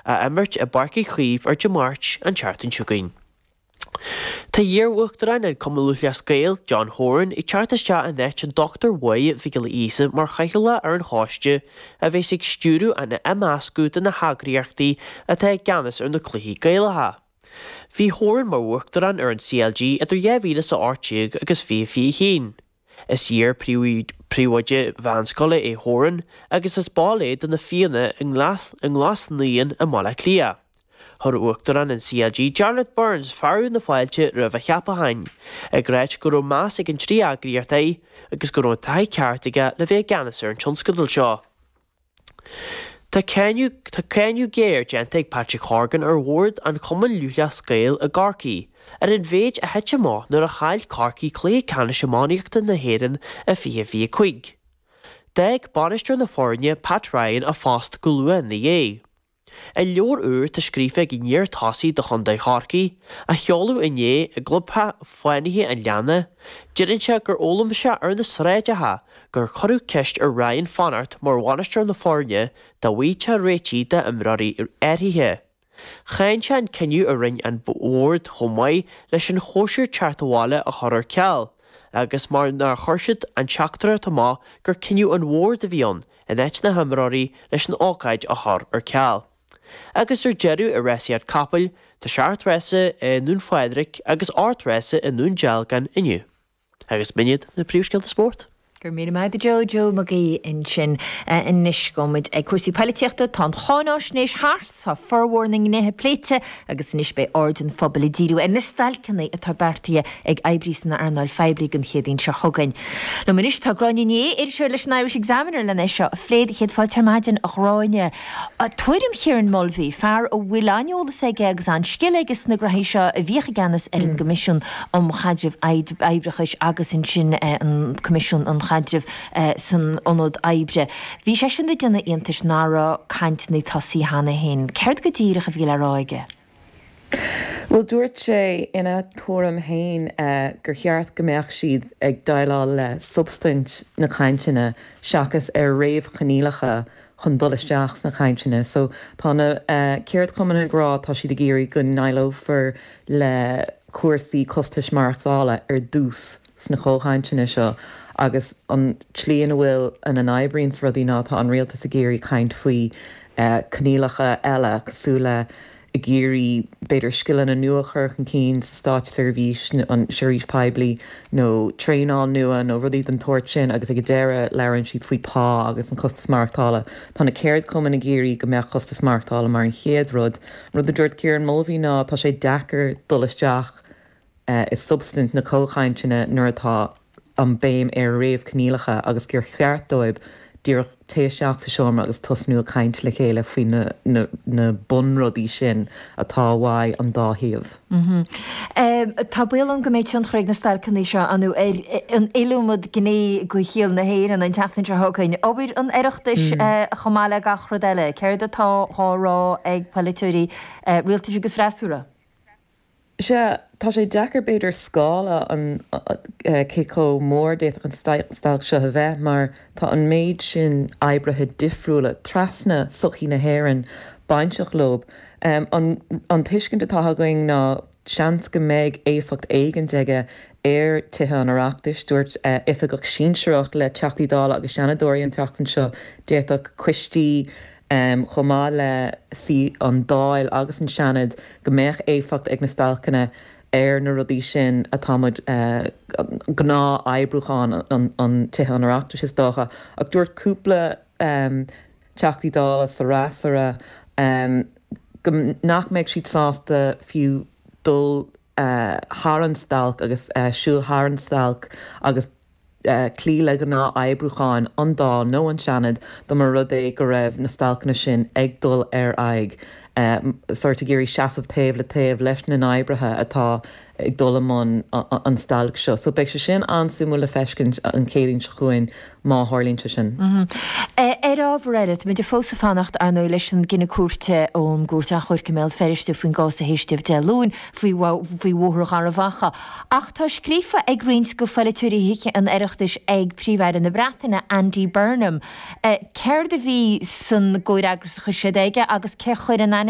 Á imirt i bPáirc Uí Chaoimh ar Dé Máirt an tseachtain seo chugainn. Tá iar-Uachtarán an Chumann Lúthchleas Gael, John Horan, ag teacht isteach in áit an Dr Mháire Mhic Giolla Íosa mar chathaoirleach ar an choiste a bheas ag stiúradh an imeascadh de na heagraíochtaí atá i gceannas ar na cluichí Gaelacha. Bhí Horan mar Uachtarán ar an CLG idir 2018 agus 2021. Is iar-phríomhoide mheánscoile é Horan agus is ball é de na Fianna i nGlas Naíon i mBaile Átha Cliath. Chuir Uachtarán an CLG Jarlath Burns fearadh na fáilte roimh a cheapachán, ag ráit go raibh meas ag an dtrí eagraíocht air agus go raibh an taithí ceart aige le bheith i gceannas ar an tionscadal seo. Tá cáineadh Tá cáineadh géar déanta ag Patrick Horgan ar bhord an Chumainn Lúthchleas Gael i gCorcaigh ar an mhéid a thit amach nuair a chaill Corcaigh cluiche ceannais iománaíochta na hÉireann i 2025. D'fhág bainisteoir na foirne, Pat Ryan, a phost go luath ina dhiaidh. I leabhar úr atá scríofa ag an iar-tosaí do chontae Chorcaí, a sheoladh inné i gclubtheach Fánaithe an Leanna, deireann sé gur fhoghlaim sé ar na sráideacha gur cuireadh ceist ar Ryan fanacht mar bhainisteoir na foirne dá bhfaighteadh réitigh d'imreoirí áirithe. Cháin sé an cinneadh a rinne an bord chomh maith leis an chóisir teacht abhaile a chur ar ceal agus mar nár chuir siad an teachtaireacht amach gur cinneadh an bhoird a bhí ann in áit na himreoirí leis an ócáid a chur ar ceal. Agus ar deireadh i rásaíocht capaill, tá seacht rása i nDún Phádraig agus 8 rása i nDún Dealgan inniu. Agus b'in iad na príomhscéalta spóirt. Go raibh míle maith agat a Joe, Joe Mag Aoidh ansin. Anois gabhfaidh muid ag cúrsaí poilitíochta. Tá an cháináisnéis thart, tá formhór na ngnéithe pléite agus anois beidh aird an phobail ag díriú ar na stailceanna atá beartaithe ag oibrithe san earnáil phoiblí don Chéadaoin seo chugainn. Liom anois tá Gráinne Ní Aodha, iriseoir leis an Irish Examiner len é seo a phlé. Céad fáilte ar maidin, a Ghráinne. Tuairim Kieran Mulvey, fear a bhfuil an-eolas aige agus an-scil aige sna graithí seo, a bhíodh i gceannas ar an gCoimisiún um Chaidreamh Oibreachais agus ansin an Coimisiún um Chaidreamh san Ionad Oibre. Bhí seisean ag déanamh iontais nach raibh cainteanna tosaithe cheana féin. Céard go díreach a bhí le rá aige? Bhuel, dúirt sé ina tuairim féin gur cheart go mbeadh siad ag déileáil le substaint na cainteanna seachas ar réamhchoinníollacha chun dul isteach sna cainteanna. So tá na ceardchumainn ag rá tá siad ag iarraidh go ndéileálfar le cúrsaí costais maireachtála ar dtús sna comhchainteanna seo agus an tslí ina bhfuil, ina n-oibríonns rudaí ná tá an rialtas ag iarraidh caint faoi coinníollacha eile cosúil le ag iarraidh, b'fhéidir, scileanna nua a chur chun cinn sa státseirbhís, an seirbhís poiblí, nó traenáil nua nó rudaí den tsórt sin agus ag an deireadh labhrann siad faoi pá agus an costas maireachtála. Tá na ceardchumainn ag iarraidh go mbeadh costas maireachtála mar an chéad rud. An rud a dúirt Kieran Mulvey ná tá sé deacair dul isteach i substaint na comhchainteanna nuair atá an béim ar réamhchoinníollacha agus gur cheart dóibh díreach téigh isteach sa seomra agus tosnú ag caint le chéile faoi na na bunrudaí sin atá uaidh an dá thaobh. Tá baol ann go mbeidh tionchar ag na stailceanna seo ar an iliomad gné de shaol na hÉireann an tseachtain seo chugainn. Obair an Oireachtais chomh maith le gach rud eile. Céard atá á rá ag polaiteoirí rialtais agus freasúra? Sea, tá sé deacair b'fhéidir scála an cé chomh mór d'fhéadfadh an stailc seo a bheith mar tá an méid sin oibrithe difriúla trasna sochaí na hÉireann bainteach leo. An tuiscint atá againn ná seans go mbeidh éifeacht éigint aige ar Tithe an Oireachtais. Dúirt oifigeach sinsearach le Teachtaí Dála agus Seanadóirí an tseachtain seo d'fhéadfadh coistí chomh maith le suí an Dáil agus an Seanad, go mbeadh éifeacht ag na stailceanna ar na rudaí sin atá muid, gnáth-oibriúchán an Tithe an Oireachtais is dócha. Ach dúirt cúpla Teachtaí Dála sa fhreasúra go nach mbeadh siad sásta fiú dul thar an stailc agus siúl thar an stailc agus cloí le gnáth-oibriúcháin an Dáil nó an Seanad dá mba rud é go raibh na stailceanna sin ag dul ar aghaidh, sórt ag iarraidh seasamh taobh le taobh leis na n-oibrithe atá ag dul i mbun an stailc seo. So beidh sé sin an-suimiúil le feiscint an Chéadaoin seo chugainn má tharlaíonn sé sin. Ar ábhar eile, táimid fós ag fanacht, ar ndóigh, leis an gcinneadh cúirte ón gCúirt Achomhairc i mBéal Feirste faoin gcás a héisteadh Dé Luain faoi Bhóthar Gharbh Achaidh. Ach tá scríofa ag roinnt de pholaiteoirí Thithe an Oireachtais ag Príomh-Aire na Breataine, Andy Burnham. Céard a bhí san gcomhfhreagras a chuir siad aige agus cé chuir in aithne?